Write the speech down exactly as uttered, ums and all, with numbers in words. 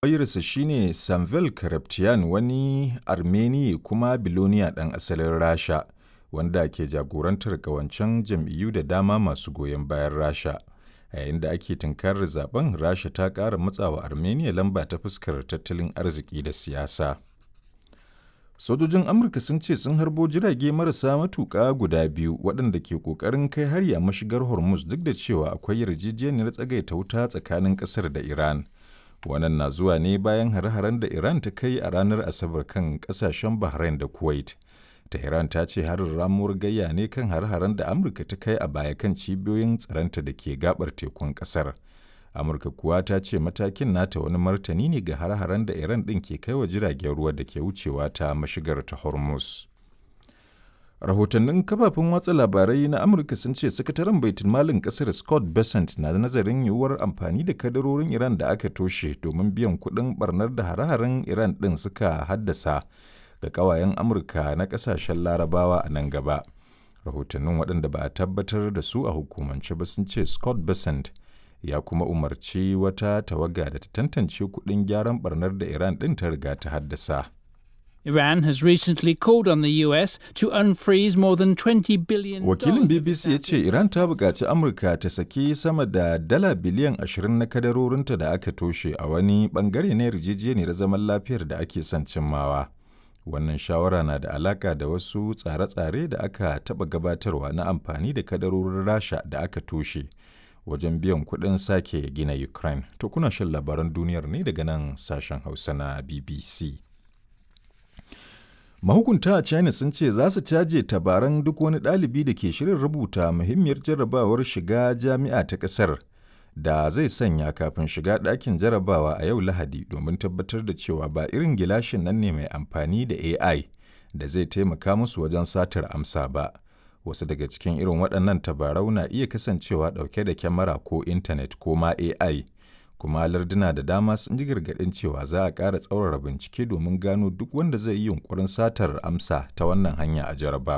Lauyansa shi ne Samvel Karapetyan, wani Armeniye kuma biloniya ɗan asalin Rasha, wanda ke jagorantar ƙawancen jam'iyyu da dama masu goyon bayan Rasha. A yayin da ake tunkarar zaɓen, Rasha ta ƙara matsawa Armenia lamba ta fuskar tattalin arziki da siyasa. Sojojin Amurka sun ce sun harbo jirage marasa matuƙa guda biyu waɗanda ke ƙoƙarin kai hari a mashigar Hormuz duk da cewa akwai yarjejeniyar tsagaita wuta tsakanin ƙasar da Iran. Wannan na zuwa ne bayan hare-haren da Iran ta kai a ranar Asabar kan ƙasashen Bahrain da Kuwait. Tehran ta ce harin ramuwar gayya ne kan hare-haren da Amurka ta kai a baya kan cibiyoyin tsaronta da ke gabar tekun ƙasar. Amurka kuwa ta ce matakin nata wani martani ne ga hare-haren da Iran ɗin ke kai wa jiragen ruwa da ke wucewa ta mashigar ta Hormuz. Rahotannin kafafen watsa labarai na Amurka sun ce sakataren baitulmalin ƙasar Scott Bessent na nazarin yiwuwar amfani da kadarorin Iran da aka toshe domin biyan kuɗin barnar da hare-haren Iran ɗin suka haddasa ga ƙawayen Amurka na ƙasashen Larabawa a nan gaba. Rahotannin waɗanda ba a tabbatar da su a hukumance ba sun ce Scott Bessent ya kuma umarci wata tawaga da ta tantance kuɗin gyaran barnar da Iran ɗin ta riga ta haddasa. Iran has recently called on the U S to unfreeze more than twenty billion Wakilin B B C ya ce Iran ta buƙaci Amurka ta saki sama da dala biliyan ashirin na kadarorinta da aka toshe a wani bangare na yarjejeniyar zaman lafiyar da ake son cimmawa. Wannan shawara na da alaka da wasu tsare-tsare da aka taɓa gabatarwa na amfani da kadarorin Rasha da aka toshe wajen biyan kuɗin sake gina Ukraine. To, kuna shan labaran duniyar ne daga nan sashen Hausa na B B C. Mahukunta a China sun ce za su caje tabaran duk wani ɗalibi da ke shirin rubuta muhimmiyar jarrabawar shiga jami'a ta ƙasar da zai sanya kafin shiga ɗakin jarabawa a yau Lahadi domin tabbatar da cewa ba irin gilashin nan ne mai amfani da A I da zai taimaka musu wajen satar amsa ba. Wasu daga cikin irin waɗannan tabarau na iya kasancewa ɗauke da kyamara ko intanet ko ma A I. Kuma larduna da dama sun ji gargaɗin cewa za a ƙara tsaurara bincike domin gano duk wanda zai yi yunƙurin satar amsa ta wannan hanya a jarabawar.